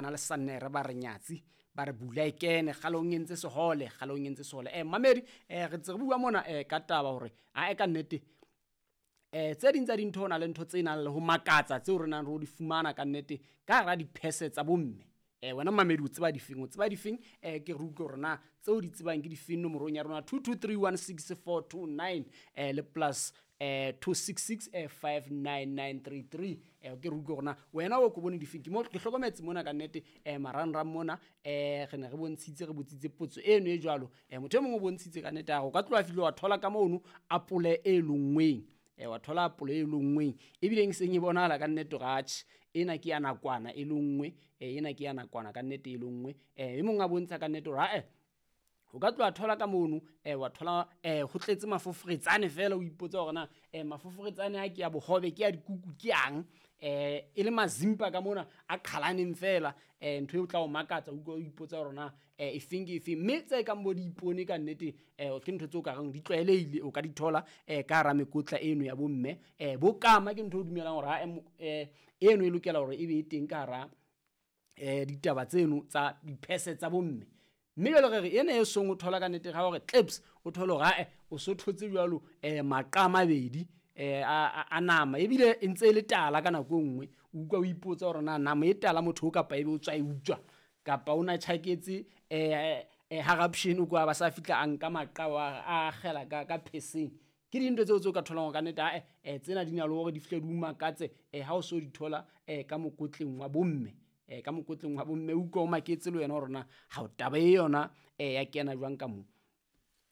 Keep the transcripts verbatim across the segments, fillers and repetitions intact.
Na le Sannere ba re nyatsi ba re bula e kene kgalong e ntse sehole kgalong e ntse sehole. Eh mamedi eh re ntse re bua mona eh ka taba hore a e ka nnete eh tse ding tsa dintho na le ntho tse nang le ho makatsa tseo re nang re di fumana ka nnete ka hara diphese tsa bomme. Eh wena mamedi o tseba difeng o tseba difeng eh ke re utlwe hore na tseo di tsebang ke difeng nomorong ya rona two two three one six four two nine eh le plus eh two six six eh five nine nine three three eh ke re utlwe hore na wena o ko bone difeng. Ke mo ke hlokometse mona ka nnete eh marangrang mona eh re ne re bontshitse re botsitse potso eno e jwalo eh motho e mongwe o bontshitse ka nnete a re o ka tloha fihle wa thola ka mono apole e longweng eh wa thola apole e longweng ebile e seng e bonahala ka nnete hore atjhe ena ke ya nakwana e longwe eh ena ke ya nakwana ka nnete e longwe eh e mong a bontsha ka nnete hore ae o ka tloha thola ka mono eh wa thola eh ho tletse mafoforetsane fela o ipotsa hore na eh mafoforetsane a ke ya bohobe ke ya dikuku ke yang eh e le mazimpa ka mona a qhalaneng fela eh ntho e o tla o makatsa o ipotsa hore na eh efeng ke efeng mme tse kang bo diipone ka nnete eh ke ntho tseo ka reng di tlwaelehile o ka di thola eh ka hara mekotla eno ya bomme eh bokama ke ntho o dumelang hore ha eh eno e lokela hore e be e teng ka hara eh ditaba tseno tsa diphese tsa bomme. Mme jwale re re ena e song o thola ka nnete ga hore clips o thole hore ae o so thotse jwalo eh maqa a mabedi eh a a nama ebile e ntse e le tala ka nako e nngwe o utlwa o ipotsa hore na nama e tala motho o kapa ebe o tswa e utswa kapa o na tjhaketse eh eh haraption kwa ba sa fihla a nka maqa wa a akgela ka ka pheseng. Ke dintho tseo tseo ka tholang ka nnete ae eh tsena di na le hore di fihle di o makatse eh ha o so di thola eh ka mokotleng wa bomme eh ka mokotleng wa bomme o utlwa o maketse le wena hore na ha o taba e yona eh ya kena jwang ka mo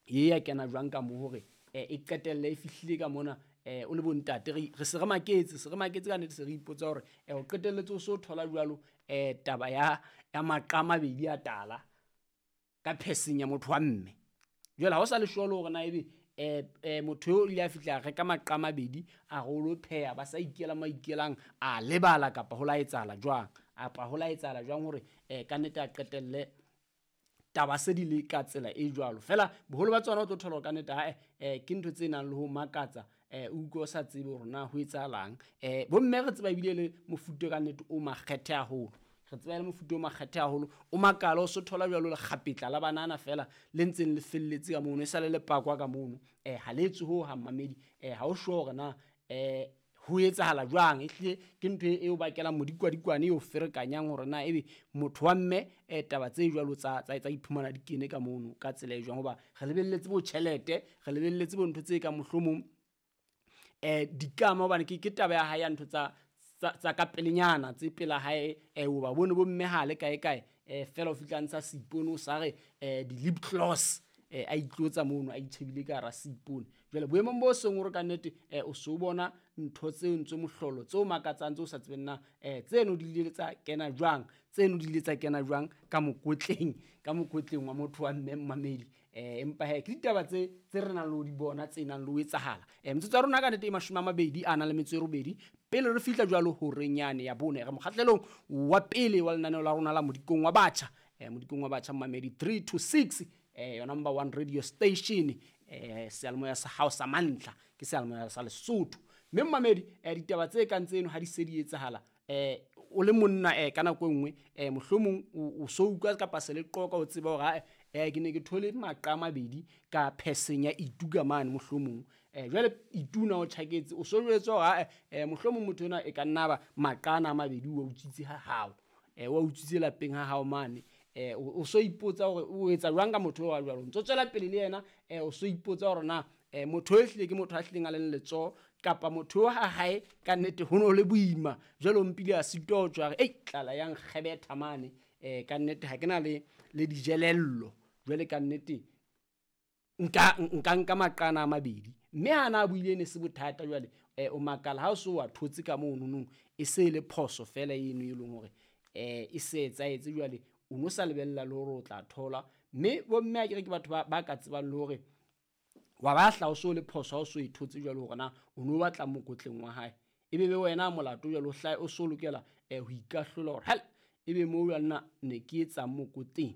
e ya kena jwang ka mo hore eh e qetelle e fihlile ka mona eh o le bontate re re se re maketse se re maketse ka nnete se re ipotsa hore eh o qetelletse o so thola jwalo eh taba ya ya maqa a mabedi a tala ka pheseng ya motho wa mme. Jwale ha o sa le sure hore na ebe eh eh motho eo o ile a fihla a reka maqa a mabedi a re o lo pheha ba sa ikela mo a ikelang a lebala kapa ho la etsahala jwang apa ho la etsahala jwang hore eh ka nnete a qetelle taba se di le ka tsela e jwalo. Fela boholo ba tsona o tlo thola hore ka nnete ae eh ke ntho tse nang le ho makatsa eh o utlwe o sa tsebe hore na ho etsahalang. Eh bomme re tseba ebile le mofuta ka nnete o makgethe haholo re tseba le mofuta o makgethe haholo o makala o so thola jwalo lekgapetla la banana fela le ntseng le felletse ka mono e sale le pakwa ka mono eh ha le etswe ho hang mamedi eh ha o sure hore na eh ho etsahala jwang ehlile ke ntho e o bakelang modikwadikwane e o ferekanyang hore na ebe motho wa mme eh taba tse jwalo tsa tsa tsa iphumana di kene ka mono ka tsela e jwang hoba re lebelletse bo tjhelete re lebelletse bo ntho tse ka mohlomong eh dikama hobane ke ke taba ya hae ya ntho tsa tsa tsa ka pelenyana tse pela hae eh o ba bone bo mme ha le kae kae eh fela o fihla ntsha seipone o sa re eh di lip gloss eh a itlotsa mono a itjhebile ka hara seipone. Jwale boemong bo seng hore ka nnete eh o so bona ntho tseo ntse mohlolo tseo makatsang tseo sa tsebeng na eh tseno di ile tsa kena jwang tseno di ile tsa kena jwang ka mokotleng ka mokotleng wa motho wa mme mmamedi eh empa he ke ditaba tse tse re nang le ho di bona tse nang le ho etsahala. Eh metsotso ya rona ka nnete e mashome a mabedi a nang le metso e robedi pele re fihla jwalo horeng yane ya bone re mokgahlelong wa pele wa lenaneo la rona la Modikong wa Batjha eh Modikong wa Batjha mmamedi three to six eh your number one radio station eh seyalemoya sa hao sa mantlha ke seyalemoya sa Lesotho. Mme mmamedi eh ditaba tse kang tseno ha di se di etsahala eh o le monna eh ka nako e nngwe eh mohlomong o so utlwa kapa se le qoka o tseba hore eh ke ne ke thole maqa a mabedi ka pheseng ya ituka mane mohlomong eh jwale ituna o tjhaketse o so jwetswa hore eh mohlomong motho ena e ka nna ba maqa ana a mabedi o utswitse ha hao eh wa utswitse lapeng ha hao mane eh o so ipotsa hore o etsa jwang ka motho wa jwalo ntso tswela pele le yena eh o so ipotsa hore na eh motho e hlile ke motho a hlileng a leng letsoho kapa motho ha hae ka nnete ho no le boima jwale o mpile a sitwa ho tswa re ei tlala yang kgebetha mane eh ka nnete ha ke na le le dijelello jwale ka nnete nka nka nka maqana a mabedi mme ha na buile ne se bothata jwale eh o makala ha o so wa thotse ka mono nong e se le phoso fela eno e leng hore eh e se etsaetse jwale o no sa lebella le hore o tla thola. Mme bomme a ke re ke batho ba ba ka tsebang le hore wa ba hla o so le phoso ha o so e thotse jwale hore na o no batla mokotleng wa hae ebe be wena molato jwale o hlae o so lokela eh ho ikahlola hore hel ebe mo jwale nna ne ke etsa mokotleng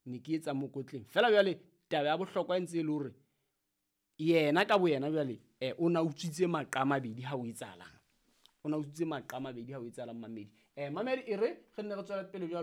ne ke etsa mokotleng fela jwale taba ya bohlokwa e ntse e le hore yena ka boyena jwale eh o na utswitse maqa a mabedi ha o etsahalang o na utswitse maqa a mabedi ha o etsahalang mamedi Eh mamedi, e re re nne re tswele pele jwalo.